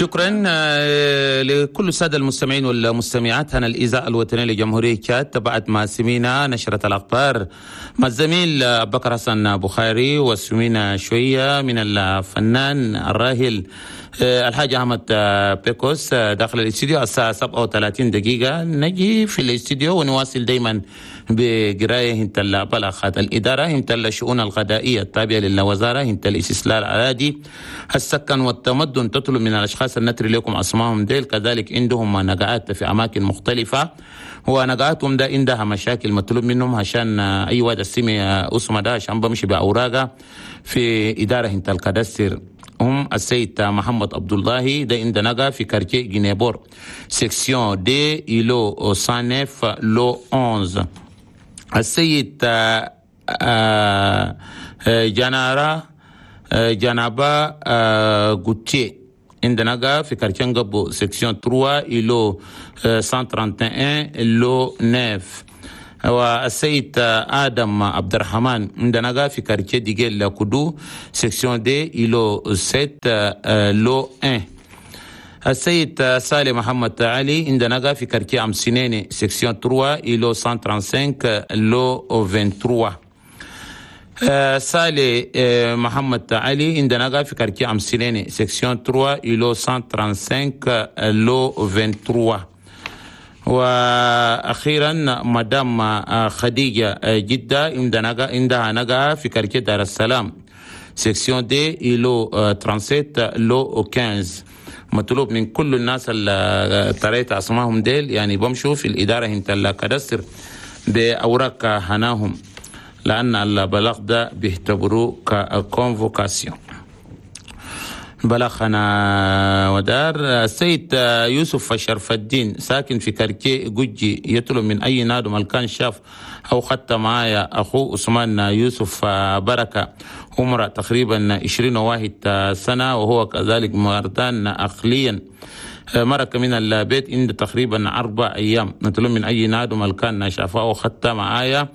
شكرا لكل السادة المستمعين والمستمعات. هنا الإذاعة الوطنية لجمهورية تشاد. بعد ما سمينا نشرة الأخبار مع الزميل بكر حسن بخاري، وسمينا شوية من الفنان الراحل الحاج أحمد بيكوس داخل الاستديو الساعة 37 دقيقة. نجي في الاستديو ونواصل دايما بقراية هنت البلاغات. الإدارة هنت الشؤون الغذائية التابعة للوزارة هنت الاستصلاح الأراضي السكن والتمدن تطلب من الأشخاص النتري لكم أسمائهم ديل، كذلك عندهم نقعات في أماكن مختلفة ونقعاتهم ده عندها مشاكل، مطلوب منهم عشان أي واحد السمي اسمه ده عشان بمشي بأوراقه في إدارة هنت ال cadastre. هم السيد محمد عبد الله ده عند نقا في quartier Guinée-Port، section deux، îlot 109، lot 11. السيد جنارا جنابا غوتيه عندنا نقا في quartier Ngabo، section 3، îlot 131، lot 9. والسيد آدم عبد الرحمن عندنا في quartier Diguel Koudou، section deux، îlot 7، lot 1. السيد سالم محمد علي عندنا في quartier أمسينيني، section 3، îlot 135، lot 23. سالي محمد علي عندنا في quartier أمسينيني، section 3، îlot 135، lot 23. واخيرا مدام خديجة جده عندها نقا في quartier دار السلام، section deux، îlot 37، lot 15. مطلوب من كل الناس اللي طريت اسمائهم ديل يعني بمشوا في الادارة هنت ال cadastre باوراق هناهم، لان البلاغ ده بيعتبروه ك convocation. بلغنا ودار. السيد يوسف شرف الدين ساكن في quartier جوجي يطلب من أي نادم الكان شاف أو خدت معايا أخوه عثمان يوسف بركة، عمره تقريبا 21 سنة، وهو كذلك مرضان عقليا، مرق من البيت عند تقريبا 4 أيام. نطلب من أي نادم الكان شافه أو خدت معايا،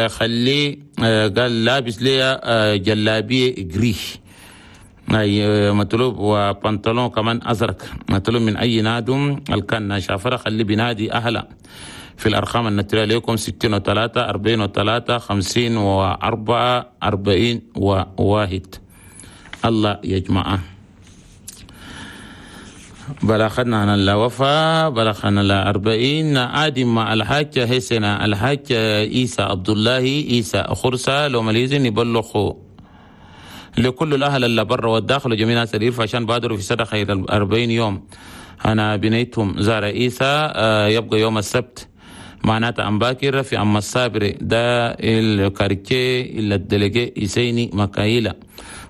خليه قال لابس لي جلابية gris أي مطلوب وبنطلون كمان أزرق. مطلوب من أي نادم الكان شافره خلي بنادي أهلا في الأرقام النتري لكم: 63 43 54 41. الله يجمعه. بلغنا عن الوفاة، بلغنا 40. آدم الحاج حسن الحاج عيسى عبد الله عيسى خرسة لو مليزن يبلغوا لكل الأهل اللي برا والداخل وجميع الناس اللي عشان بادروا في صدقة 40 يوم. أنا بنيتهم زار عيسى يبقى يوم السبت، معناته أم باكر في أم الصابر ده ال quartier ال délégué إسيني مكايلة.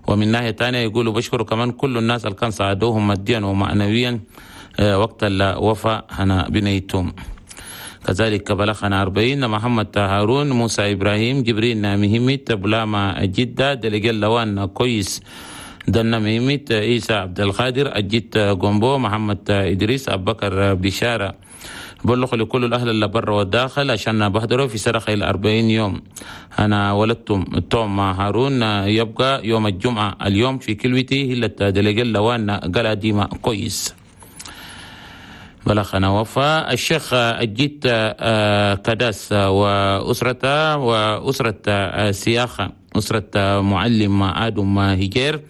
ومن ناحية تانية يقولوا بشكروا كمان كل الناس اللي كان ساعدوهم ماديا ومعنويا وقت الوفاة هنا بنيتهم. كذلك بلغنا 40. محمد هارون موسى إبراهيم جبرين مهمت بلاما جدة délégué لوان كويس دنا مهمت عيسى عبد القادر أجيت جومبو محمد إدريس أبو بكر بشارة بلغ لكل الأهل اللي برا والداخل عشان بحضروا في صدقة 40 يوم. أنا ولدتم توم هارون يبقى يوم الجمعة اليوم في كلوتي هي délégué لوان قال ديما كويس. بلغنا وفاة الشيخ الجيت كداس وأسرته وأسرة سياخة، أسرة معلم آدم هجير،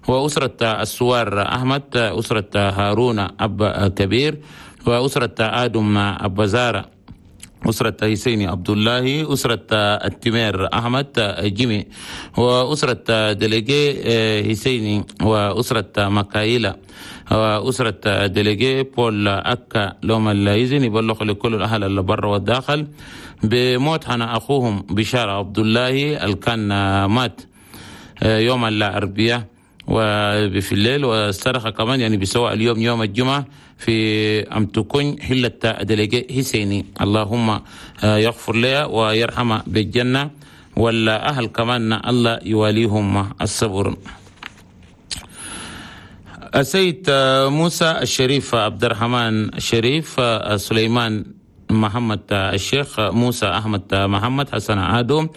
وأسرة السوار أحمد، أسرة هارون أب كبير، وأسرة آدم أب زارة، أسرة حسين عبد الله، أسرة التمير أحمد جيمي، وأسرة délégué حسيني، وأسرة مكايلة، وأسرة délégué بول أكا. لهم الإذن يبلغ لكل الأهل اللي برا والداخل بموت هنا أخوهم بشارة عبد الله اللي كان مات يوم الأربعاء وفي الليل، والصدقة كمان يعني بسواء اليوم يوم الجمعة في أم تكون حلة délégué حسيني. اللهم يغفر لها ويرحمها بالجنة، والأهل كمان الله يواليهم الصبر. السيد موسى الشريف عبد الرحمن الشريف سليمان محمد الشيخ موسى أحمد محمد حسن عادو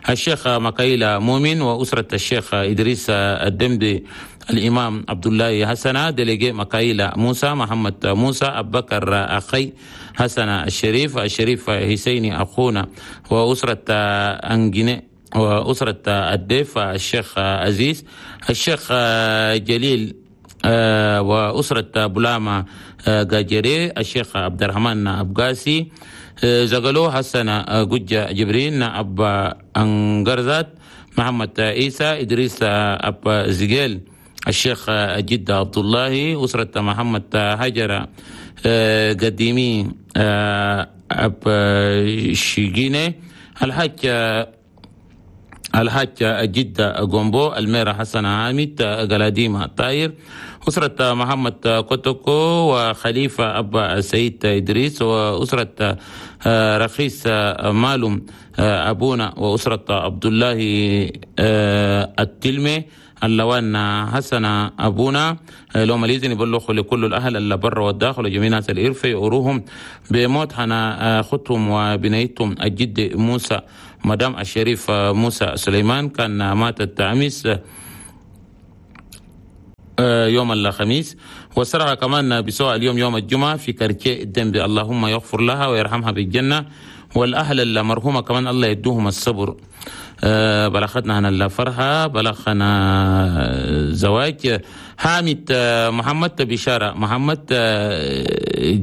الشيخ مكايلة مؤمن، وأسرة الشيخ إدريس الدمدي. الإمام عبد الله حسنة، délégué مكايلة موسى، محمد موسى، أبو بكر أخي حسن الشريف، الشريف حسيني أخونا، وأسرة أنجني، وأسرة الديف الشيخ عزيز، الشيخ جليل، وأسرة بلاما جاجري، الشيخ عبد الرحمن أبقاسي، زغلو حسن جوجة جبرين، أبا أنجرزات، محمد عيسى، إدريس أبا زجيل، الشيخ جدة عبد الله، أسرة محمد هجرة قديمي أب شيجيني، الحاج جدة جومبو، الميرة حسن عامد، قلاديمة طاير، أسرة محمد كوتوكو، وخليفة أبا سيد إدريس، وأسرة رخيص مالوم أبونا، وأسرة عبد الله التلمي، اللوان حسن أبونا. لو ماليزن يبلغوا لكل الأهل اللي برا والداخل وجميع ناس الإرفة يقروهم بموت حنا خطهم وبنيتهم الجد موسى مدام الشريف موسى سليمان، كان ماتت أمس يوم الخميس، وسرها كمان بسوء اليوم يوم الجمعة في كركي الدنبي. اللهم يغفر لها ويرحمها بالجنة، والأهل المرحومة كمان الله يدوهم الصبر. بلغتنا هنا الفرحة، بلغنا زواج حامد محمد بشارة محمد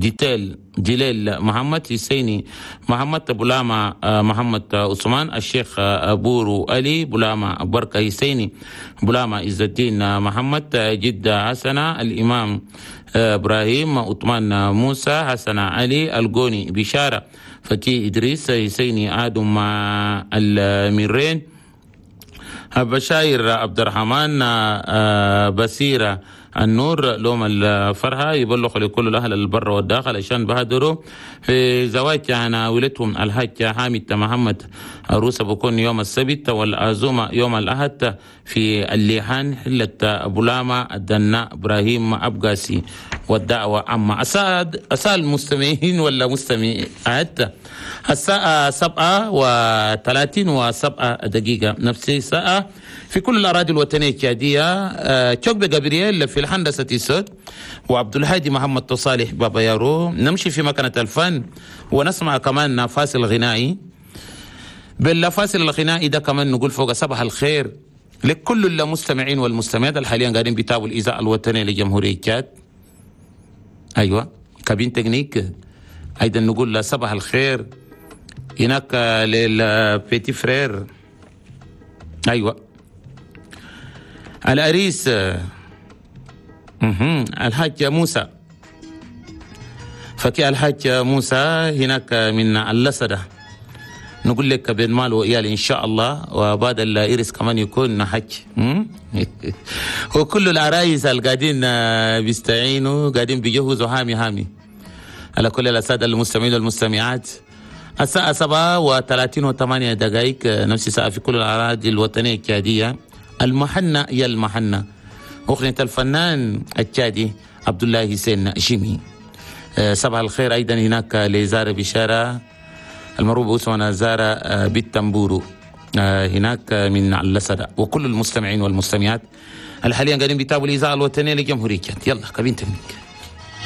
جيتيل جليل محمد حسيني محمد بلاما محمد عثمان، الشيخ بورو علي بلاما بركة حسيني بلاما عز الدين محمد جدة حسنة، الإمام إبراهيم عثمان موسى حسن علي الجوني بشارة فتي إدريس حسيني آدم مع الميرين بشاير عبد الرحمن بصيرة النور لوم الفرحة. يبلغ لكل الأهل البر والداخل عشان بهدروا في زواج أنا ولدهم الحاج حامد محمد عروسة بكون يوم السبت والعزومة يوم الأحد في الليحان حلة بولاما الدناء إبراهيم أبقاسي، والدعوة عامة. أسأل المستمعين ولا مستمعات الساعة 7:37 نفس الساعة في كل الأراضي الوطنية التشادية. تشوك جابرييل في الهندسة الصوت، وعبد الهادي محمد صالح بابا يارو. نمشي في مكانة الفن ونسمع كمان فاصل غنائي. بالفاصل الغنائي ده كمان نقول فوق صباح الخير لكل المستمعين والمستمعات حاليا قاعدين بيتابعوا الإذاعة الوطنية لجمهورية تشاد. أيوة cabine technique أيضا نقول صباح الخير هناك لل petit frère. أيوة العريس الحاج موسى فكي الحاج موسى هناك من اللسدة، نقول لك بين مال وإيال إن شاء الله، وبعد الإرس كمان يكون حج. وكل العرايس القاعدين بيستعينوا قاعدين بيجهزوا هامي هامي. على كل الأساتذة المستمعين والمستمعات الساعة 7:38 نفس الساعة في كل الأراضي الوطنية التشادية. المحنة يا المحنة، أغنية الفنان التشادي عبد الله حسين جيمي. صباح الخير أيضا هناك لزارة بشارة المروب أسوانا زارة بالتنبورو هناك من اللسدة، وكل المستمعين والمستمعات الحاليا قاعدين بيتابعوا الإذاعة الوطنية لجمهورية. يلا cabine technique.